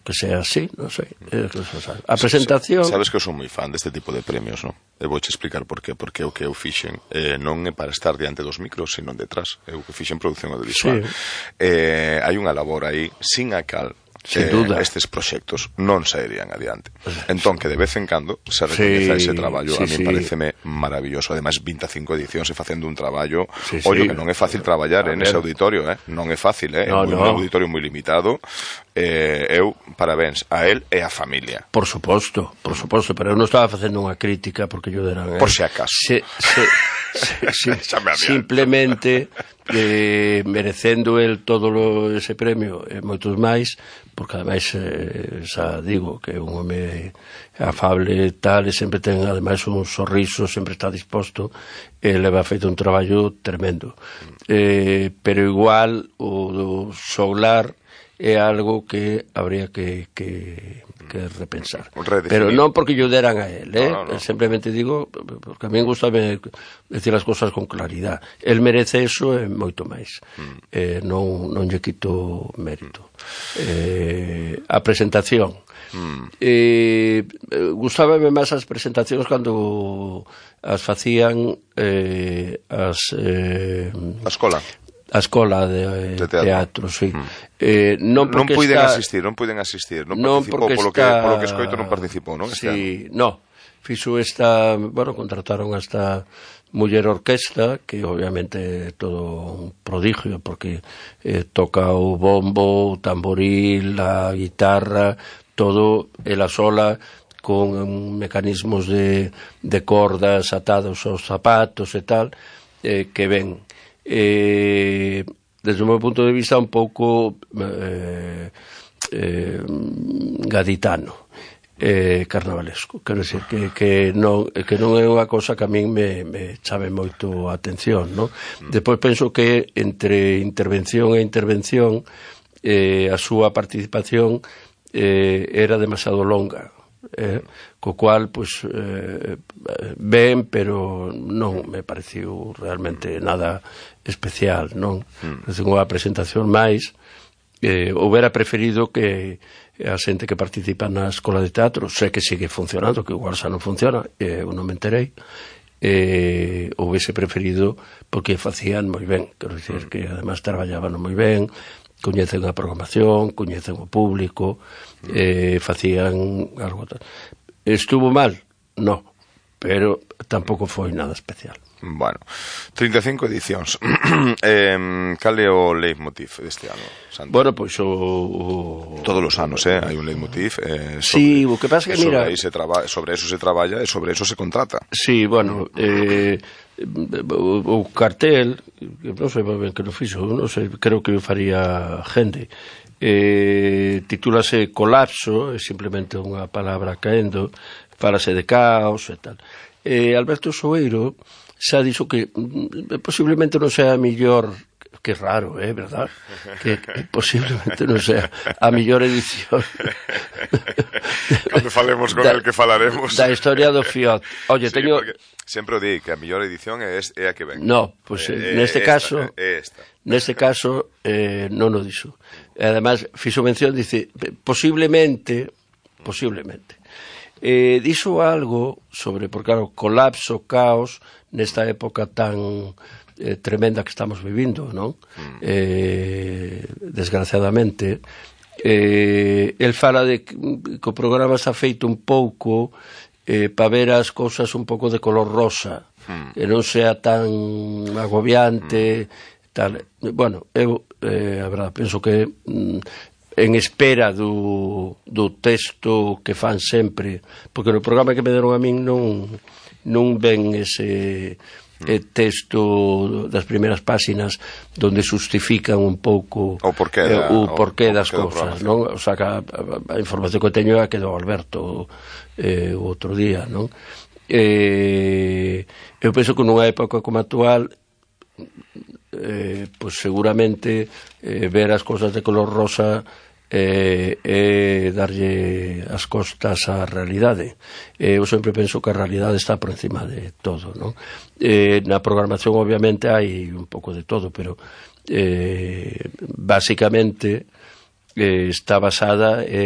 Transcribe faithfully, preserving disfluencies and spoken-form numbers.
que sea así, non sei. A presentación... Sabes que eu son moi fan deste tipo de premios, non? E vouche explicar por qué. Porque o que eu fixen eh, non é para estar diante dos micros, sino detrás. Eu que fixen produción audiovisual. Sí. Eh, hai unha labor aí, sin a cal Sin duda. Eh, estes proxectos non sairían adiante. Entón, que de vez en cando se recoñeza sí, ese traballo, sí, a mí sí. pareceme maravilloso. Ademais, vinte e cinco edicións e facendo un traballo, sí, ollo, sí. que non é fácil traballar en ese auditorio, eh? non é fácil, eh? no, é no. un auditorio moi limitado. Eh, eu, parabéns a él e a familia. Por suposto, por suposto, pero eu non estaba facendo unha crítica porque yo deran... Eh? Por si acaso. Se, se, se, se, simplemente eh, merecendo el todo lo, ese premio e moitos máis, porque ademais eh, xa digo que é un home afable tal e sempre ten ademais un sorriso, sempre está disposto e leva feito un traballo tremendo, eh, pero igual o, o Soular é algo que habría que, que, que repensar, pero non porque yo deran a él, eh? no, no, no. simplemente digo porque a mí gusta decir as cosas con claridad. El merece eso e moito máis, mm. eh, non, non lle quito mérito. eh, a presentación mm. eh, gustábame máis as presentacións cando as facían eh, as eh, a escola a escola de, de teatro, teatro sí. mm. eh, non, non puiden está... asistir, non puiden asistir, non, non participou polo que, está... polo que escoito non participou, non? Este sí, ano. no, fixo esta, bueno, contrataron a esta muller orquesta, que obviamente é todo un prodigio, porque eh, toca o bombo, o tamboril, a guitarra, todo ela sola, con mecanismos de, de cordas atados aos zapatos e tal, eh, que ven. Eh, desde o meu punto de vista un pouco eh, eh, gaditano, eh, carnavalesco, quero dicir que, que, non, que non é unha cosa que a min me, me chame moito a atención, no? Mm. Depois penso que entre intervención e intervención eh, a súa participación eh, era demasiado longa, eh, co cual pues eh, ben, pero non me pareciu realmente nada especial, non? Mm. Unha presentación máis, eh, houbera preferido que a xente que participa na escola de teatro, sei que sigue funcionando, que igual xa non funciona, eh, eu non me enterei, eh, houvese preferido porque facían moi ben, quero dicir que además traballaban moi ben, coñecen a programación, coñecen o público, eh, facían algo tal. Estuvo mal? No, pero tampouco foi nada especial. Bueno, trinta e cinco edicións. eh, cal é o leitmotiv deste ano, Santi? Bueno, pois o, o... todos os anos, eh, hai un leitmotiv eh, sobre, sí, o que pasa que mira sobre, se traba, sobre eso se traballa e sobre eso se contrata. Sí, bueno, eh, o, o cartel, non sei ben que non fixo, non sei, creo que o faría gente, eh, titúlase Colapso, é simplemente unha palabra caendo, falase de caos e tal. Eh, Alberto Soeiro xa dixo que mm, posiblemente non sea a millor, que raro, é eh, verdad, que, que posiblemente non sea a millor edición cando falemos con da, el que falaremos da historia do Fiat. Oye, sí, teño sempre o di que a mellor edición é, é a que ven. No, pues eh, neste esta, caso é esta. Neste caso eh, non o dixo. E además fixo mención, dice, posiblemente posiblemente eh, dixo algo sobre, porque claro, colapso, caos nesta época tan eh, tremenda que estamos vivindo, non? Mm. Eh, desgraciadamente eh, el fala de que, que o programa está feito un pouco eh, para ver as cousas un pouco de color rosa, mm. que non sea tan agobiante, mm. tal. Bueno, eu eh, a verdade, penso que mm, en espera do, do texto que fan sempre, porque no programa que me deron a min non, non ven ese eh, texto das primeiras páxinas donde justifican un pouco o porqué, da, eh, o porqué o, das o cousas, non? O sea, que a, a, a información que teño é que do Alberto eh, o outro día, non? Eh, eu penso que nunha época como a actual eh, pues seguramente eh, ver as cousas de color rosa e eh, eh, darlle as costas á realidade. Eh, eu sempre penso que a realidade está por encima de todo, non? Eh, na programación obviamente hai un pouco de todo, pero eh, basicamente eh, está basada en